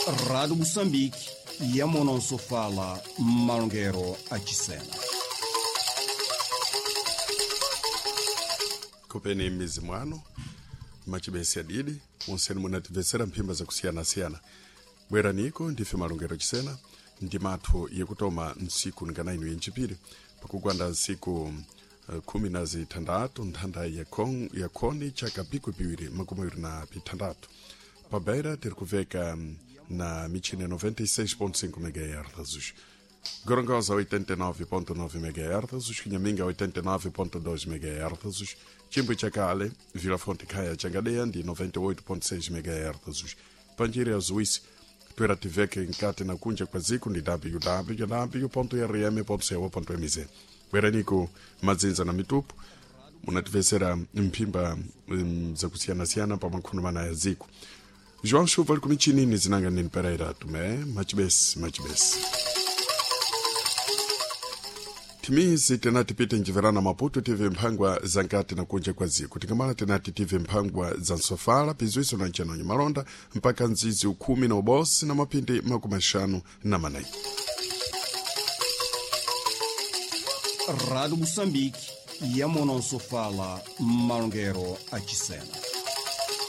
Rádio Moçambique, Yamonosofala, Malongero Achisena. Kupeni mizi mwano machibesi adidi monseni munatimvetsera mphimba zakusiyana-siyana bweraniko ndife malongero chisena ndi mathu yekutoma ntsiku nganainu yenchipiri pakugwanda ntsiku khumi na zithandatu nthanda ya khoni chaka pikwi piwiri makumi awiri na pithandatu pabeira tiri kuveka na michini ya 96.5 MHz Gorongosa 89.9 MHz, Xinhaminga 89.2 MHz, Chimbo Chacale, Vila Fonte Caia Changadeia ndi 98.6 MHz. Panjiri ya Zuís, twera tiveke nkati na kunja kwa ziku ndi www.rm.co.mz. Bweraniko madzinza na mitupu munativesera mphimba zakusiyana-siyana pa makhuno mana ya ziku. João Chuva ali kumichinini zinanga nini Pereira tume machibesi machibesi. Timizi tenati pite njiverana Maputo tive mphangwa za nkati na kunja kwa ziko tikamala tenati tive mphangwa za nsofala pizwiso na nchanonyo malonda mpaka nzizi ukhumi na ubosi na mapindi makumi axanu na manayi. Rádio Moçambique, Yamonosofala, Malongero Achisena.